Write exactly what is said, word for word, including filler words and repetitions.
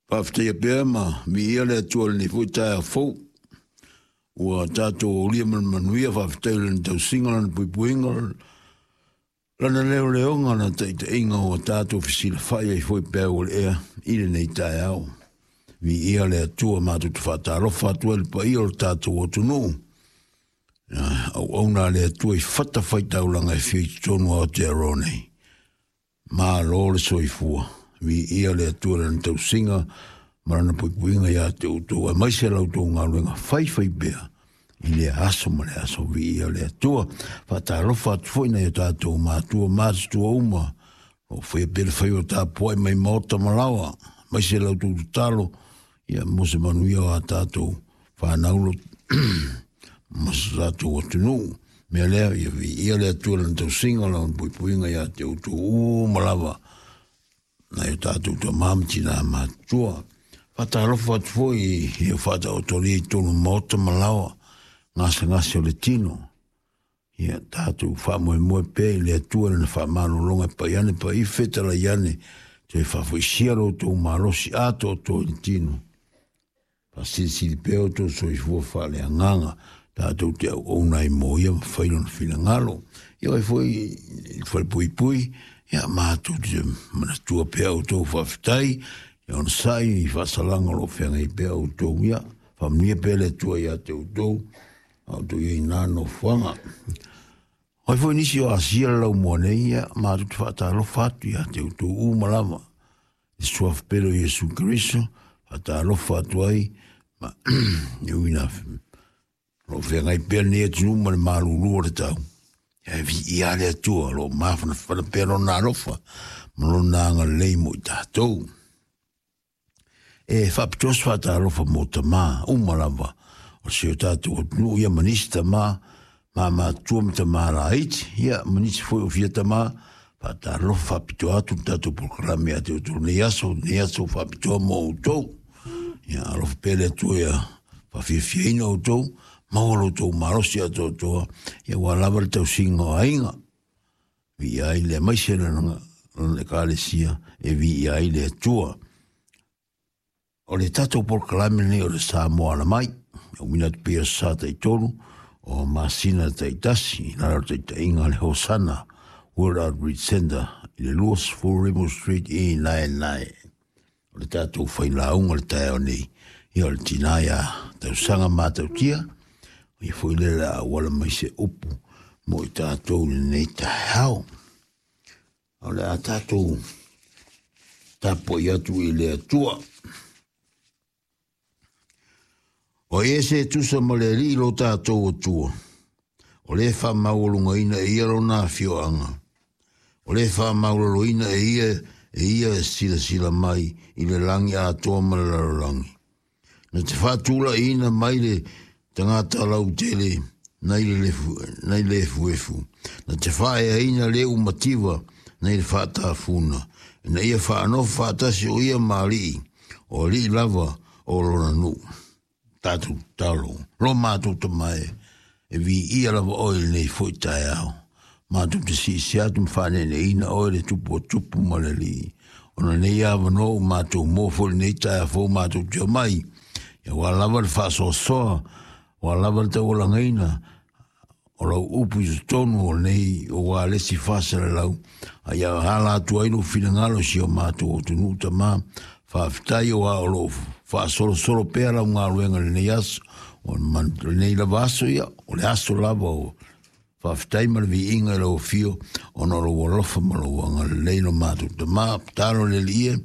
Faafetaia pea ma viia le Atua i lenei foi taeao fou. Ua tatou aulia ma le manuia, faafetai i lana tausiga, lana puipuiga, lana leoleoga, lana taitaiga ua tatou fesilafai ai foi peau o le ea i lenei taeao. Viia le Atua, matou te faatalofa atu ai i le paia o le tatou atunuu. Auauna a le Atua i fatafaitaulaga e fia i totonu o Aotearoa nei. Malo le soifua, viia le Atua i lana tausiga ma lana puipuiga ia te outou, aemaise la outou galuega faifaipea i lea aso ma le aso. Viia le Atua. Faatalofa atu foi nai o tatou matua matutua uma o faia pea le faiva tapuai mai maota ma laoa, aemaise la outou tatalo ia mo se manuia o a tatou fanau ma so tatou atunuu. Mea lea, ia viia le Atua i lana tausiga, lana puipuiga ia te outou uma lava, nai o tatou tama ma tina matutua. Faatalofa atu foi i o faataotolia i totonu o maota ma laoa, gasegase o le tino. Ia tatou faamoemoe pea i le Atua i lana faamalologa e pai ane pai fetalai ane, toe faafoisia lo outou malosi atoatoa i le tino. Faasilisili pea outou soifua faaleagaga, tatou te auauna ai mo ia ma fai lona finagalo. Ia oi foi i le falepuipui, ia matou te manatua pea outou faafetai, ia onosai i faasalaga o lo o feagai pea outou. Ia faamanuia pea le Atua ia te outou, a outou i ai na nofoaga. Oi foi nisi o Asia le laumua nei, ia matou te faatalofa atu ia te outou uma lava. I le suafa pele o Iesu Keriso, faatalofa atu ai, ma e ui ina o lo o feagai pea lenei atunuu ma le malulu o le tau. Ae viia le Atua, o lo o mafanafana pea lona alofa ma lona agalelei mo i tatou. E faapitoa se faatalofa mo tamā uma lava o si o tatou atunuu, ia ma nisi tamā mamatua ma tamā laiti, ia ma nisi foi o fia tamā. Faatalofa faapitoa atu le tatou polokalame ia te outou nei aso, nei aso faapitoa mo outou. Ia alofa pea le Atua ia faafiafiaina outou, maua lo outou malosi atoatoa, ia ua lava le tausiga o aiga. Viia ai le aemaise lana lana ekalesia e viia ai le Atua. O le tatou polokalame lenei o le Samoa Alamai, e uiga atu pei o sa taitolu o masina taitasi i lalo o le taitaiga a le Hosana World Outreach Center i le twenty Rimu Street i Naenae. O le tatou failauga le taeao nei, ia o le tina ia tausaga matautia, ia foi le la auala mai se upu mo i tatou i lenei taeao. O le a tatou tapuai atu i le Atua. O ai se tusa ma le Alii lo tatou Atua, o le faamaualugaina e ia lona afioaga, o le faamaualaloina e ia e ia e silasila mai i le lagi atoa ma le lalolagi. Na te faatulaiina mai le tagata lautele nai le lefu, nai le efuefu, na te faaeaina le umativa nai le faatafuna, ina ia faanofo faatasi o ia ma alii, o alii lava o lona nuu. Tatou tatalo, lo matou tama e, e viia lava oe i lenei foi taeao. Matou te siisia atu ma faaneeneina oe le tupu o tupu ma le alii. Ona nei avanoa ua matou moa foi lenei taeao fou matou te omai. Ia ua lava le faasoasoa, ua lava le taualagaina o lau upu i totonu o lenei o ua le isi faasalalau. A ia ala atu ai lou finagalo i si o matou atunuu tama. Faafetai o a o loo faasolosolo pea lau galuega i lenei aso, o lenei lava aso ia, o le aso lava o faafetai ma le viiga i lau afio, ona o lou alofa ma lou agalelei lo matou tama. Tatalo le Alii e,